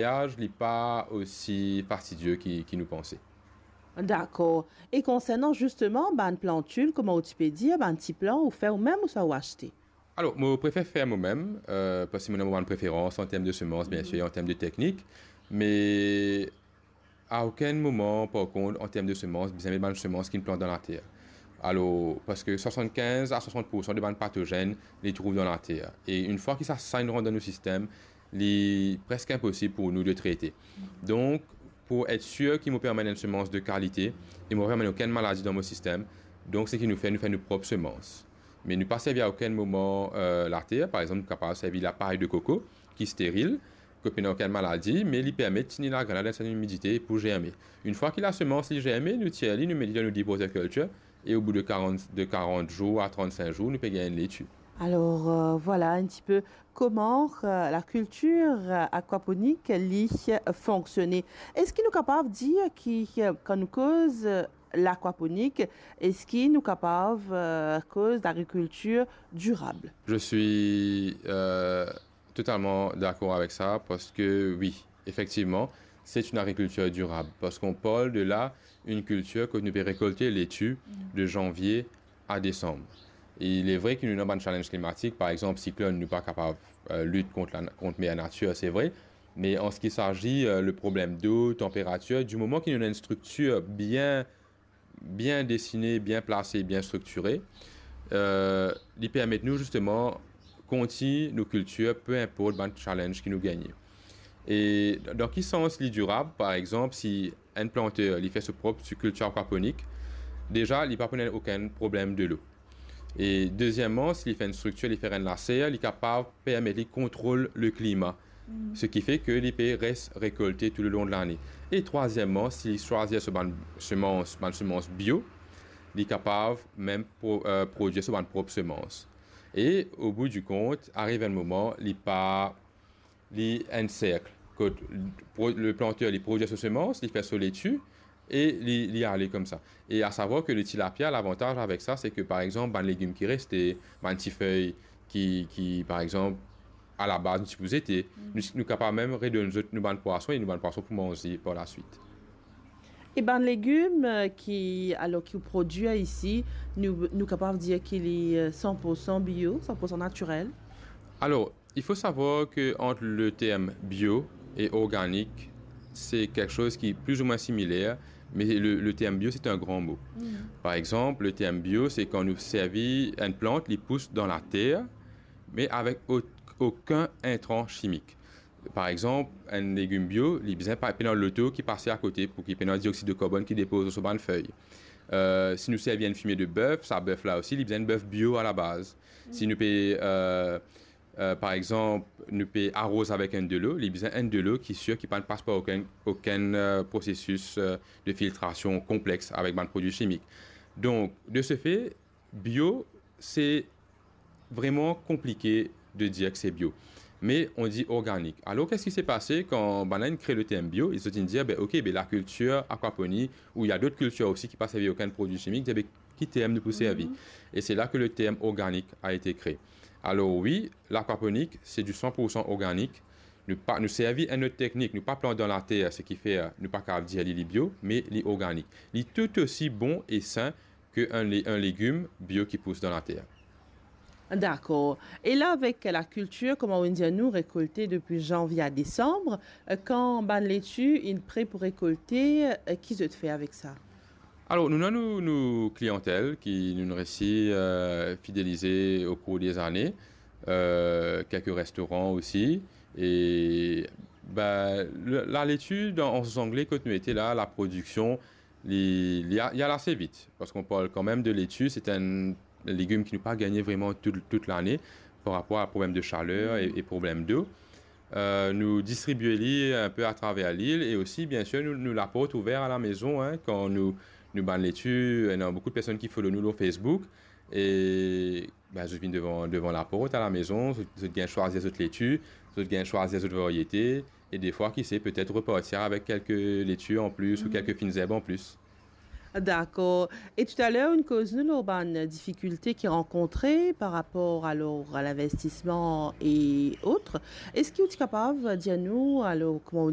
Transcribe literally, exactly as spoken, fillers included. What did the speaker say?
Gaspiyaz, li pa osi fastidie ki, ki nou panse. Dakor. E konsernan zisteman bann plantil, kouma ou ti pe dir, bann ti plan ou fer ou mem ouswa ou aste? Alor, mo prefer fer mo mem, euh, parski mo ena mo bann preferans an term de semans, bien sir, an term de teknik, me a okenn moman, par kont, an term de semans, bizin met bann semans ki inn plant dan later. Alor, parski swasannkinz a swasant poursan de bann patozenn, li trouv dan later. E enn fwa ki sa, sa inn rant dan nou sistem, li preske inposib pou nou de trete. Donk, pou et sir ki mo pe amenn enn semans de kalite e mo pa pe amenn okenn maladi dan mo sistem, donk seki nou fer, nou fer nou prop semans. Me nou pa servi a okenn moman, euh, later. Par exanp, nou kapav servi lapay de koko, ki steril, kot pena okenn maladi, me li permet tini lagrenn la dan sertin imidite pou zerme. Enn fwa ki lasemans li zerme, nou tir li, nou met li dan nou deep water culture, e o bout de karant, de karant zour a trannsink zour, nou pe gagn enn leti. Alor, euh, vwala enn tipe kouma, euh, lakiltir, euh, akwaponik, li, euh, fonksione. Eski nou kapav dir ki, euh, kan nou koz, euh, lakwaponik, eski nou kapav, euh, koz lagrikiltir dirab? Je suis, euh, totalman dakor avek sa, parski wi, efektivman, c'est une agriculture durable, parski nou parl de la, enn kiltir kot nou pe rekolte leti de zanvie a desanm. E il est vrai ki nou ena bann challenge klimatik, par exanp, siklonn, nou pa kapav, euh, lit kont la, kont mer natir, se vre, me an seki sazi, euh, le problem dlo, tanperatir, di moman ki nou ena enn striktir bien bien desine, bien plase, bien striktire, euh, li permet nou zisteman kontign nou kiltir, pe inport bann challenge ki nou gagne. E dan ki sans li dirab? Par exanp, si enn planter, li fer so prop kiltir akwaponik, deza, li pa pou ena okenn problem dlo. E dezieman, si li fer enn striktir, li fer enn laser, li kapav permet li kontrol le klima. Seki fe ke li pe res rekolte tou le lon de lane. E trwazieman, si li swazir so bann semans, bann semans bio, li kapav mem pro-, euh, prodwir so bann prop semans. E o bout di kont, ariv enn moman, li pa, li enn serk. Kot pro-, le planter, li prodwir so semans, li fer so leti, e li, li ale koumsa. E a savwar ke le tilapia, lavantaz avek sa, se ke, par exanp, bann legim ki reste, bann ti fey ki, ki, par exanp, alabaz nou ti pou zete, nou, nou kapav mem redonn zot nou bann pwason e nou bann pwason pou manze par laswit. E bann legim, euh, ki, alor, ki ou prodwir isi, nou, nou kapav dir ki li, euh, san poursan bio, san poursan natirel? Alor, il faut savoir que entre le terme bio et organique, c'est quelque chose qui est plus ou moins similaire, mais le, le terme bio, c'est un grand mot. Par exemple, le terme bio, c'est quand nou servi enn plant, li pous dan later, me avek o-, okenn intran chimik. Par exanp, enn legim bio, li bizin pa, pena loto ki pase akote pou ki pena dioxyde de carbone ki depoz lor so bann fey. Euh, si nou servi enn fimie de bef, sa bef la osi, li bizin enn bef bio alabaz. Si nou pe, euh, euh, par exanp, nou pe aroz avek enn delo, li bizin enn delo ki sir ki pa pas par okenn, okenn, euh, prosesis, euh, de filtrasion konplex avek bann prodwi chimik. Donk, de ce fait, bio, c'est vraiment compliqué de dire que c'est bio. Mais on dit organique. Alors, qu'est-ce qui s'est passé quand bann la inn kre le terme bio? Ils ont dit, ben, ok, ben, la culture aquaponie, ou il y a d'autres cultures aussi qui pas servi aucun produit chimique, ben, ki term nou pou servi? Et c'est là que le terme organique a été créé. Alors oui, l'aquaponie, c'est du cent pour cent organique. Nou pa, nou servi enn lot teknik, nou pa plant dan later, seki fer, euh, nou pa kapav dir li, li bio, me li organik. Li tou osi bon e sin ke enn le-, enn legim bio ki pous dan later. Dakor. E la, avek lakiltir, kouma ou dir, nou rekolte depi zanvie a desanm, euh, kan bann leti inn pre pou rekolte, euh, ki zot fer avek sa? Alor, nou ena nou, nou kliyantel ki nou resi, euh, fidelize o kour de lane, euh, kelke restoran osi. E, ben, le, laleti, dan, an Angle, kot nou ete la, laprodiksion, li, li a-, li al ase vit, parski nou parl kanmem de leti, se enn legim ki nou pa gagne vreman tout, tout lane par rapor a problem de chaler e, e problem dlo. Euh, nou distribie li enn pe atraver lil e osi, bien sir, nou, nou laport ouver a lamezon, hein, kan nou, nou bann leti, ena boukou de personn ki follow nou lor Facebook e, ben, zot vinn devan, devan laport a lamezon, zot, zot gagn swazir zot leti, zot gagn swazir zot variete e defwa, ki se, petet repartir avek kelke leti an plis ou kelke finn zerb an plis. Dakor. E toutaler, ou'nn koz nou lor bann difikilte ki rankontre par rapor, alor, a linvestisman e ot. Eski ou ti kapav dir nou, alor, kouma ou